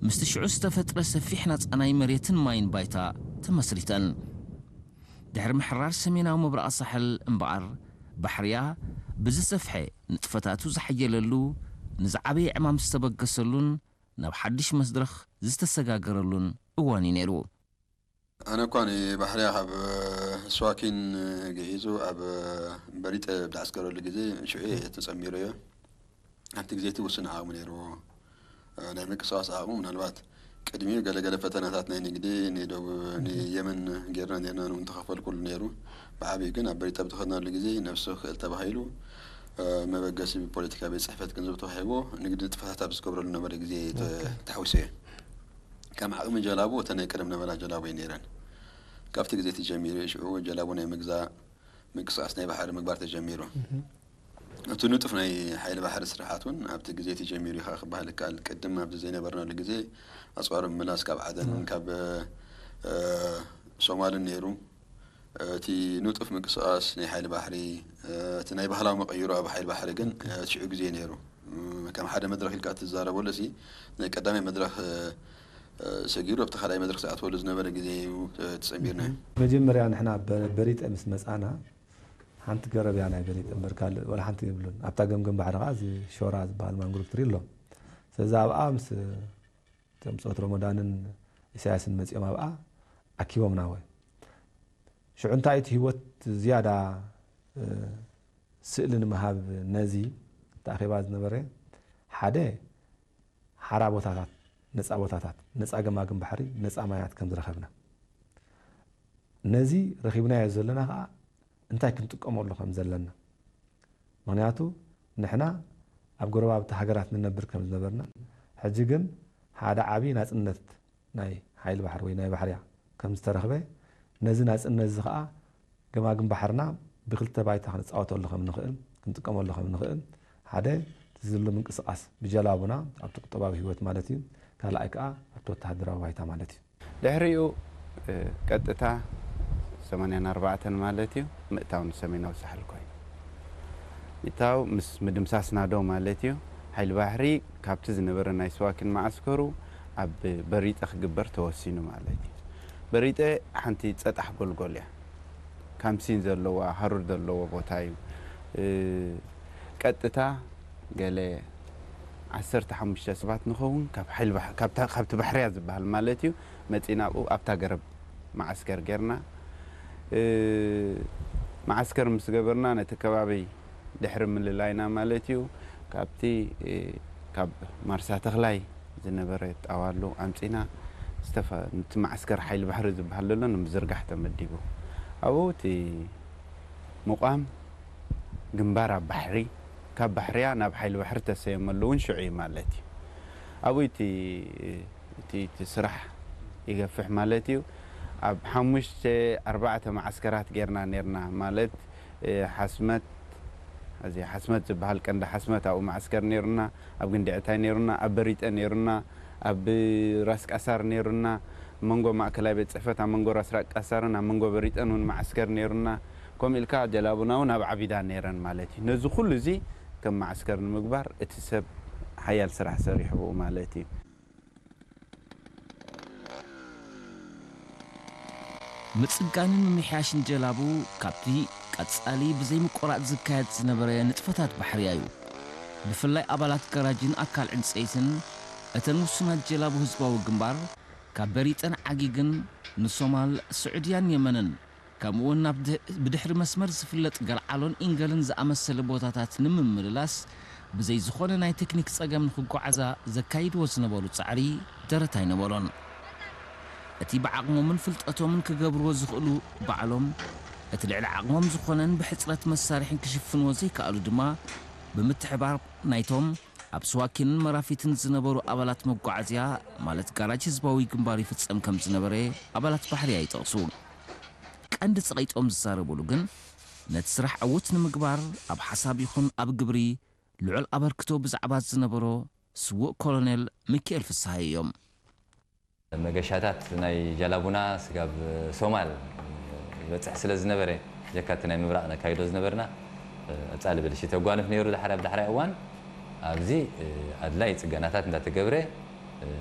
ምስቲ ሽዑ ዝተፈጥረ ሰፊሕ ናጻ ናይ መሬትን ማይን ባይታ ተመስሪተን። ድሕሪ ምሕራር ሰሜናዊ ምብራቕ ሳሕል እምበኣር፣ ባሕርያ ብዝሰፍሐ ንጥፈታቱ ዝሓየለሉ፣ ንዝዓበየ ዕማም ዝተበገሰሉን ናብ ሓድሽ መድረኽ ዝተሰጋገረሉን እዋን እዩ ነይሩ። ኣነ እኳ ንባሕርያ ካብ ስዋኪን ግዒዙ ኣብ በሪጠ ብዝዓስከረሉ ግዜ ሽዑ እየ ተጸሚረዮ። ኣብቲ ግዜ እቲ ውሱን ዓቕሚ ነይርዎ። ናይ ምንቅስቓስ ዓቕሙ ምናልባት ቅድሚኡ ገለገለ ፈተናታት ናይ ንግዲ ንደቡብ ንየመን ጌርና ኔርና ንውን ተኸፈልኩሉ ነይሩ። ብዓብዩ ግን ኣብ በሪጠ ብትኸድናሉ ግዜ ነብሲ ክእል ተባሂሉ መበገሲ ብፖለቲካ ቤት ጽሕፈት ገንዘብ ተዋሂቦ ንግዲ ንጥፈታት ኣብ ዝገብረሉ ነበረ ግዜ ተሓዊሰ እየ። ከም ዓቕሚ ጀላቡ እተን ናይ ቀደም ነበራ ጀላቡ እየ ነይረን። ካብቲ ግዜ እቲ ጀሚሩ ሽዑ ጀላቡ ናይ ምግዛእ ምንቅስቃስ ናይ ባሕሪ ምግባር ተጀሚሩ። እቲ ንጡፍ ናይ ሓይሊ ባሕሪ ስራሓት እውን ኣብቲ ግዜ እቲ ጀሚሩ ኢኻ ክበሃል ይከኣል። ቅድም ኣብዚ ዘይነበርናሉ ግዜ ኣፅዋር ምምላስ ካብ ዓደንን ካብ ሶማልን ነይሩ። እቲ ንጡፍ ምንቅስቃስ ናይ ሓይሊ ባሕሪ እቲ ናይ ባህላዊ መቐይሮ ኣብ ሓይሊ ባሕሪ ግን እቲ ሽዑ ግዜ ነይሩ። ከም ሓደ መድረኽ ኢልካ እትዛረበሉ እዚ ናይ ቀዳማይ መድረኽ ሰጊሩ ኣብቲ ካልኣይ መድረኽ ዝኣትወሉ ዝነበረ ግዜ እዩ ተፀሚርና። መጀመርያ ንሕና በሪጠ ምስ መፃና ሓንቲ ገረብ እያ ናይ በሪጠ እምበር ካልእ ወላ ሓንቲ የብሉን። ኣብታ ገምገም ባሕሪ ከዓ እዚ ሾራ ዝበሃል ማንግሩቭ ትሪ ኣሎ። ስለዚ ኣብኣ ምስ እቶም ብፆት ሮሞዳንን ኢሳያስን መፂኦም ኣብኣ ኣኪቦምና ወ ሽዑ እንታይ እቲ ህይወት ዝያዳ ስእሊ ንምሃብ ነዚ ተኣኺባ ዝነበረ ሓደ ሓራ ቦታታት ነፃ ቦታታት ነፃ ገማግም ባሕሪ ነፃ ማያት ከም ዝረኸብና ነዚ ረኺብናዮ ዘለና ከዓ እንታይ ክንጥቀመሉ ከም ዘለና ምክንያቱ ንሕና ኣብ ጎረባብቲ ሃገራት ንነብር ከም ዝነበርና ሕጂ ግን ሓደ ዓብዪ ናፅነት ናይ ሓይሊ ባሕሪ ወይ ናይ ባሕርያ ከም ዝተረኽበ ነዚ ናፅነት እዚ ከዓ ገማግም ባሕርና ብክልተ ባይታ ክንፃወተሉ ከም ንኽእል ክንጥቀመሉ ከም ንኽእል ሓደ ዝሉ ምንቅስቃስ ብጀላቡና ኣብቲ ቁጠባዊ ህይወት ማለት እዩ ካልኣይ ከዓ ኣብቲ ወተሃደራዊ ባይታ ማለት እዩ ድሕሪኡ ቀጥታ ሰማንያን ኣርባዕተን ማለት እዩ ምእታው ንሰሜናዊ ሳሕል ኮይኑ ምእታው ምስ ምድምሳስና ዶ ማለት እዩ ሓይሊ ባሕሪ ካብቲ ዝነበረ ናይ ስዋኪን መዓስከሩ ኣብ በሪጠ ክግበር ተወሲኑ ማለት እዩ በሪጠ ሓንቲ ፀጣሕ ጎልጎል እያ ካምሲን ዘለዋ ሃሩር ዘለዎ ቦታ እዩ ቀጥታ ገለ ዓሰርተ ሓሙሽተ ሰባት ንኸውን ካብ ሓይሊ ባሕ- ካብታ- ካብቲ ባሕርያ ዝበሃል ማለት እዩ መፂና ኣብኡ ኣብታ ገረብ መዓስከር ጌርና እ፣ መዓስከር ምስ ገበርና ነቲ ከባቢ ድሕሪ ምልላይና ማለት እዩ ካብቲ እ፣ ካብ ማርሳ ተኽላይ ዝነበረ ጣዋሉ ኣምፂና ዝተፈ- ነቲ መዓስከር ሓይሊ ባሕሪ ዝበሃል ዘሎ ንምዝርጋሕ ተመዲቡ ኣብኡ እቲ ምቋም ግንባር ኣብ ባሕሪ ካብ ባሕርያ ናብ ሓይሊ ባሕሪ ተሰየመሉ እውን ሽዑ እዩ ማለት እዩ ኣብኡ እቲ እቲ እቲ ስራሕ ይገፍሕ ማለት እዩ ኣብ ሓሙሽተ ኣርባዕተ መዓስከራት ጌርና ኔርና ማለት እ፣ ሓስመት እዚ ሓስመት ዝበሃል ቀንዲ ሓስመት ኣብኡ መዓስከር ኔሩና ኣብ ግንዲ ዕታይ ኔሩና ኣብ በሪጠ ኔሩና ኣብ ራስ ቃሳር ኔሩና መንጎ ማእከላይ ቤት ፅሕፈት ኣብ መንጎ ራስ ራቅ ቃሳርን ኣብ መንጎ በሪጠን እውን መዓስከር ኔሩና ከምኡ ኢልካ ጀላቡና እውን ኣብ ዓቢዳ ኔረን ማለት እዩ ነዚ ኩሉ እዚ ከም መዓስከር ንምግባር እቲ ሰብ ሓያል ስራሕ ሰሪሑ ብኡ ማለት እዩ ምጽጋንን ምምሕያሽን ጀላቡ ካብቲ ቀጻሊ ብዘይምቁራጽ ዝካየድ ዝነበረ ንጥፈታት ባሕርያ እዩ። ብፍላይ ኣባላት ጋራጅን ኣካል ዕንጸይትን እተን ውሱናት ጀላቡ ህዝባዊ ግንባር ካብ በሪጠን ዓጊግን ንሶማል፣ ስዑድያን የመንን ከምኡውን ናብ ድህ- ብድሕሪ መስመር ዝፍለጥ ገልዓሎን ኢንገልን ዝኣመሰለ ቦታታት ንምምልላስ ብዘይ ዝኾነ ናይ ቴክኒክ ጸገም ንኽጓዓዛ ዘካይድዎ ዝነበሩ ጻዕሪ ደረት ኣይነበሮን። እቲ ብዓቕሞምን ፍልጠቶምን ክገብርዎ ዝኽእሉ ባዕሎም፣ እቲ ልዕሊ ዓቕሞም ዝኾነን ብሕጽረት መሳርሒን ክሽፍንዎ ዘይከኣሉ ድማ ብምትሕባር ናይቶም ኣብ ስዋኪንን መራፊትን ዝነበሩ ኣባላት መጓዓዝያ ማለት ጋራጅ ህዝባዊ ግንባር ይፍጸም ከም ዝነበረ ኣባላት ባሕርያ ይጠቕሱ። ቀንዲ ጸቒጦም ዝዛረብሉ ግን ነቲ ስራሕ ዕዉት ንምግባር ኣብ ሓሳብ ይኹን ኣብ ግብሪ ልዑል ኣበርክቶ ብዛዕባ ዝነበሮ ስዉእ ኮሎኔል ሚኪኤል ፍስሃየ እዮም። መገሻታት ናይ ጃላቡና ስጋብ ሶማል ዝበፅሕ ስለ ዝነበረ ጀካ እቲ ናይ ምብራቕ ነካይዶ ዝነበርና ቀፃሊ ብልሽት የጓንፍ ነይሩ ዳሕራይ ኣብ ዳሕራይ እዋን ኣብዚ ኣድላይ ፅገናታት እንዳተገብረ